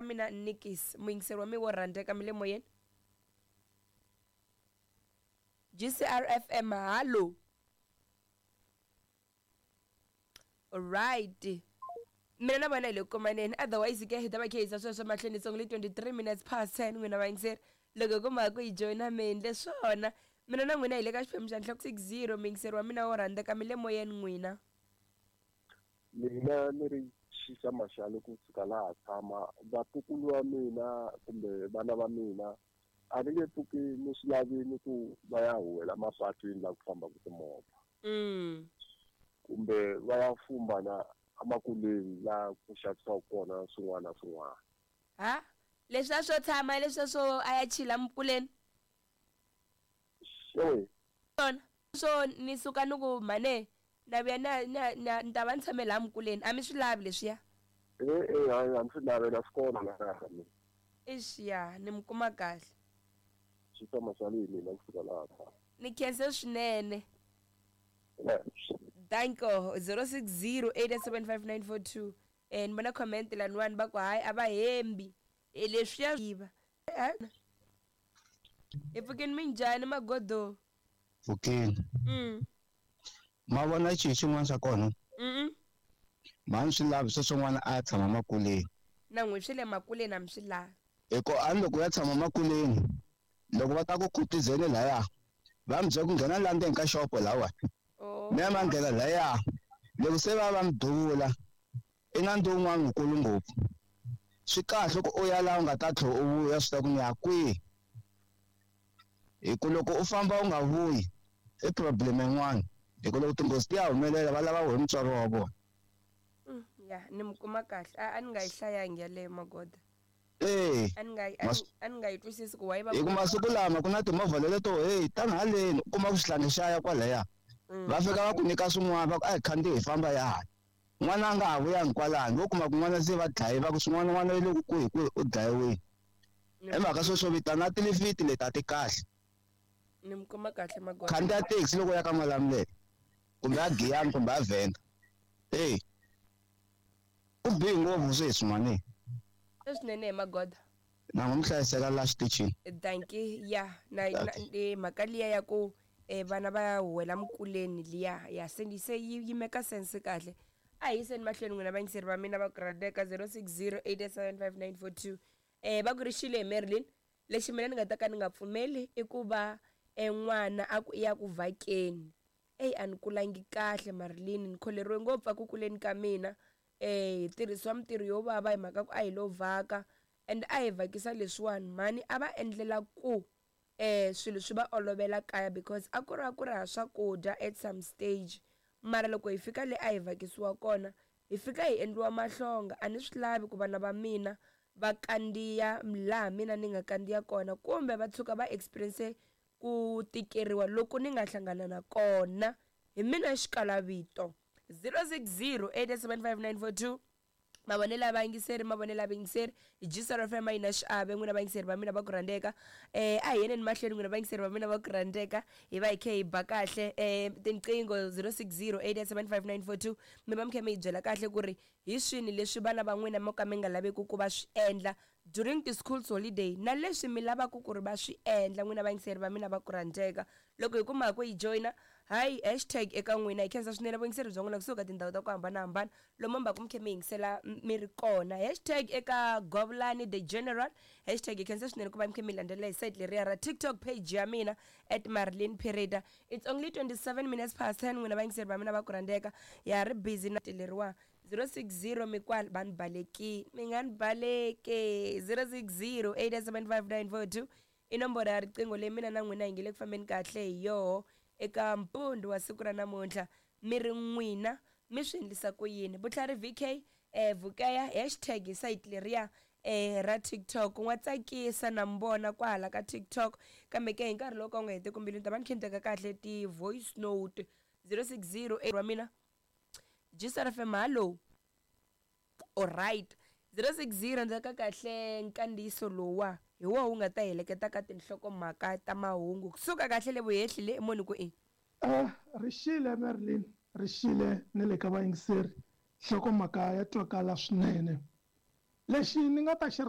mina Nikis muyingiseri wa mi wo rhandzeka mi le moyeni. GCRFM hallo. Right, mina na vona hi le ku kumaneni, otherwise ke hi ta va khe hisa sweswo mahlweni. It's only 23 minutes past 10, n'wina vayingiseri. Loko ku mhaka ku yi joyina mi endle swona. Mina na n'wina hi le ka xiphemu xa nhloko 60. Muyingiseri wa mina wo rhandzeka, mi le moyeni n'wina. Mina ni ri Xisa Maxale kusuka laha tshama. Vatukulu va mina kumbe vana va mina a ni nge pfuki ni swi lavini ku va ya huwela mapatwini laha ku fambaka timovha kumbe va ya fumba na emakuleni laha ku xavisiwaka kona swin'wana na swin'wana. Ha leswiya swo tshama, leswiya swo a ya chila mukuleni. Xewe. Swona swo ni suka ni ku mhane na vuya na na na ni ta va ni tshame laha mukuleni, a mi swi lavi leswiya? E-e, hayi, a ni swi lavi na swi kona la kaya ka mina. Ixi, ya ni mi kuma kahle. Xisa Maxale hi mina kusuka laha tshama. Ni khense swinene. Danko. 060 875 ni vona comment laniwani va ku hayi a va hembi. E leswiya yiva hi pfukeni. Minjhani magodo? Pfukeni. Ma vona xi xin'wana xa kona? Mhani swi lavi sweswo n'wana a ya tshama makuleni. Na n'wi swi le makuleni a mi swi lavi. Hi ku a ni loko ya tshama makuleni, loko va ta ku khutizeni laya, va mi byela ku nghena la ndzeni ka xopo lawani. Mi ya ma nghena laya, loko se va va mi duvula i nandzu wun'wana wukulu ngopfu. Swi kahle ku u ya laha u nga ta tlhela u vuya swi ta ku ni ya kwihi, hi ku loko u famba u nga vuyi i problem yin'wana, hi ku loko tinghozi ti ya humelela va lava wehe mutswari wa vona. Ya ni mi kuma kahle. A ni nga yi hlayangi yaleyo magoda. E. A ni nga a ni nga yi twisisi ku why va. Hi ku masiku lama ku na timovha leleto hey tani haleni, u kuma ku xihlangi xa ya kwalaya, va fika va ku nyika swin'wana, va ku a hi khandziyi hi famba ya hala. N'wana a nga ha vuyangi kwalano, vo kuma ku n'wana se va dlaye, va ku swin'wana n'wana yi le ku kwihi kwihi u dlayiwile. Hi mhaka sweswo vitana tilifiti leti a ti kahle. Ni mi kuma kahle magoda. Khandziya taxi loko u ya ka Malamulele kumbe a Giyani kumbe a Venda. Hey, ku bihi ngopfu sweswi mani. Swinene hi magoda. Na n'wi mi hlayiseka la xitichini. Dankie. Ya na mhaka liya ya ku vana va ya huwela mukuleni liya ya se se yi meka sense kahle. A hi yiseni mahlweni n'wina vayingiseri va mina va ku rhandzeka. 060 875 va ku ri xile hi Marilyn. Lexi mina ni nga ta ka ni nga pfumeli i ku va n'wana a ku i ya ku vhakeni. Eyi, a ni kulangi kahle Marilyn, ni kholeriwe ngopfu a ku kuleni ka mina. Hi tirhisiwa mintirho yo vava hi mhaka ku a hi lo vhaka, and a hi vhakisa leswiwani mhani a va endlela ku swilo swi va olovela kaya, because a ku ri a ku ri ha swakudya at some stage. Mara loko hi fika le a hi vhakisiwa kona, hi fika hi endliwa mahlonga. A ni swi lavi ku vana va mina va kandziya laha mina ni nga kandziya kona, kumbe va tshuka va experience ku tikeriwa loku ni nga hlangana na kona. Hi mina xikalavito. 060 875 mavonelo ya vayingiseri, mavonelo ya vayingiseri. GCR FM a yi na xiave. N'wina vayingiseri va mina va ku rhandzeka, a hi yeneni mahlweni. N'wina vayingiseri va mina va ku rhandzeka, hi va hi khe hi ba kahle tinqingho 060 875 mi va mi kha mi hi byela kahle ku ri hi swini leswi vana va n'wina mo ka mi nga laveki ku va swi endla during the school's holiday, na leswi mi lavaka ku ri va swi endla. N'wina vayingiseri va mina va ku rhandzeka, loko hi kuma ku yi joyina, hayi, hashtag eka n'wina. Hi khensa swinene vuyingiseri bya n'wina kusuka tindhawu ta ku hambanahambana lomu mbaku mi khe mi yingisela mi ri kona. Hashtag eka Govulani the General hashtag. Hi khensa swinene ku va mi khe mi landzelela hi site leriya ra TikTok page ya mina at Marilyn Pereda. It's only 27 minutes past 10, n'wina vayingiseri va mina va ku rhandzeka. Ya ri busy na leriwa 060 mikwala va ni balekini, mi nga ni baleke. 060 875 i nomboro ya riqingho leyi mina na n'wina hi nge le ku fambeni kahle hi yoho eka mpundzu wa siku ra namuntlha. Mi ri n'wina mi swi endlisa ku yini? Vutlhari VK Vukeya hashtag hi site leriya ra TikTok. N'wa tsakisa na mi vona kwahala ka TikTok, kambe ke hi nkarhi lowu ka wu nga heteki mbilu ni ta va ni khe ni teka kahle ti-voice note. 060 wa mina GCR FM hallo. Alright, 060 ndzhaku ka kahle nkandziyiso lowuwa hi woho wu nga ta heleketa ka tinhlokomhaka ta mahungu kusuka kahle le vuhehli le moni ku i. Rixile Marilyn, rixile ni le ka vayingiseri. Nhlokomhaka ya twakala swinene. Lexi ni nga ta xi.